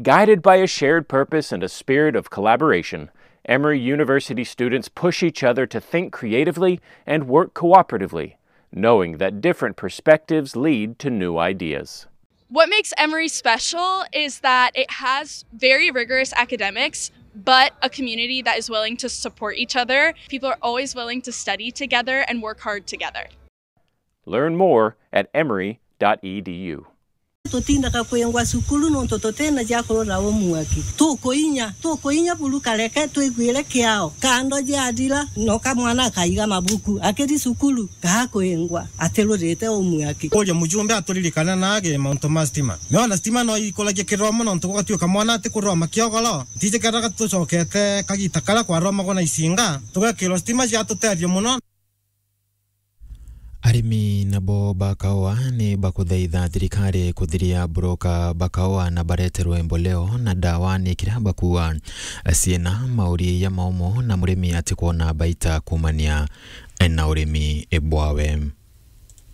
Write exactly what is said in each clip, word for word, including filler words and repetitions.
Guided by a shared purpose and a spirit of collaboration, Emory University students push each other to think creatively and work cooperatively, knowing that different perspectives lead to new ideas. What makes Emory special is that it has very rigorous academics, but a community that is willing to support each other. People are always willing to study together and work hard together. Learn more at emory dot e d u. Tutindaga kwingwa cukuru nontu tutina cia kurura homework. Tukuinya, tukuinya buru kareke twiguire kiao. Kando jiathira, noka mwana akaiga mabuku. Akiri cukuru, gakwingwa, atirurite homework. Kuria mujumbe aturirikane nage mauntu ma stima. Niona stima no ikuragia kiromo nontu gugatuika mwana atikuroma kiogoro. Ntiji kethira tucokete kagita karia kwaromagwa na icinga, tugekirwa stima ciatutethia mono. Arimi nabo ba kaua ni bakuthaitha thirikari kuthiria broka ba kaua na bareterwe mboleo na ndawa ni kiria bakuua ciina mauri ya maumu na murimi atikwona baita kumania na urimi bwawe.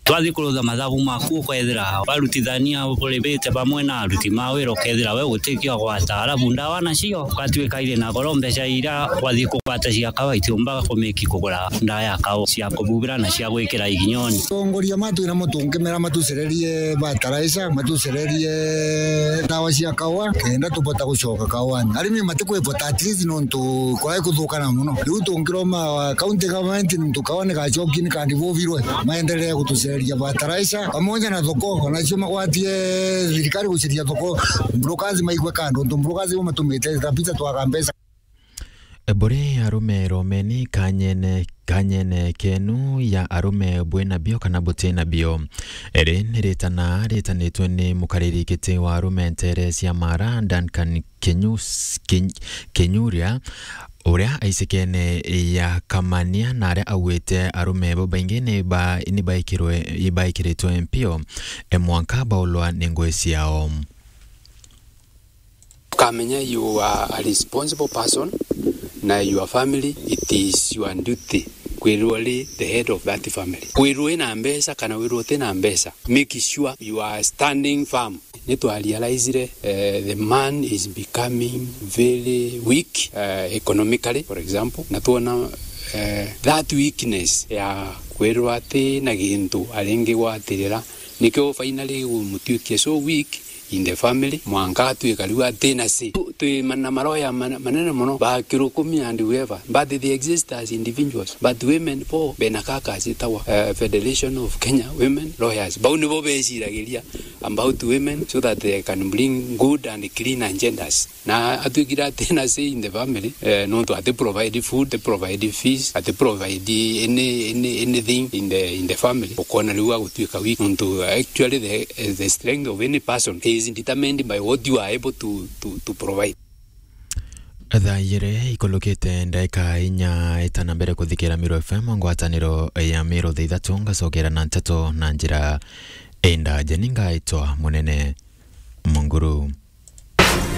Twathi kurutha mathabu maku, ukethira barutithania buribite bamwe na aruti ma wira, ukethira we gutikio gwata, arabu ndawa nacio ugatuika iri na goro, mbeca iria wathi kugwata cia kawa itiumbaga kumiki kugura ndawa ya kawa cia kububira na cia gwikira iginyoni. Atongoria matu na mo tungimera matucererie fertilizer, matucererie ndawa cia kawa, kenda tubota gucoka kawani. Arimi matikwivota at least nontu kwai kuthukana mono. Riu tungiroma county government nontu kawa ni gacoki ni kandibubirwe, maendelee gutucereria fertilizer pamoja na thoko, onacio magwatie thirikari guceria thoko, brokers maigwe kando, nontu brokers bo matumite kabisa twaga mbeca. Buri arume romeni kanyene, kanyene kenu ya arume bwina bio kana butina bio. Iri ni ritana ritanitwe ni mukariri giti wa arume ntere cia Mara, Duncan Kinyus-, Kin-, Kinyuria, uria aicikene ya Kamania, na aria augite arume babaingi ni ba-, ni baikirwe-, ni baikiritwe mpio, e mwanka baulwa ni ngui ciao. Ukamenya you are a responsible person na your family, it is your duty kwirwo ri the head of that family. Kwirwo ina mbeca kana wirwo utina mbeca, make sure you are standing firm. Ni twa realizire, eh, the man is becoming very weak, eh, economically, for example, na twona, eh, that weakness ya kwirwa ati na gintu aringi gwatirira, nikio finally gumutuikia so weak in the family, mwanka atuika riu atina say. Tu-, twi ma-, na maroya mana-, manene mono, ba Kirukumi and whoever, but they exist as individuals, but women bo bena kaka citawa, eh, Federation of Kenya Women Lawyers. Bau nibo beciragiria about women so that they can bring good and clean agendas. Na atwikire atina say in the family, eh, nontu ati provide food, ati provide fees, ati provide any, any, anything in the, in the family. Ukona riu agutwika weak, nontu actually the, the strength of any person is determined by what you are able to, to, to provide. Thaa igiri ikulukite ndagika inya itana mbere kuthikira Meru F M, ngwataniro ya Meru thaa ithatu, ngacokera na nteto na njira indaje. Ni ngaitwa Munene Munguru.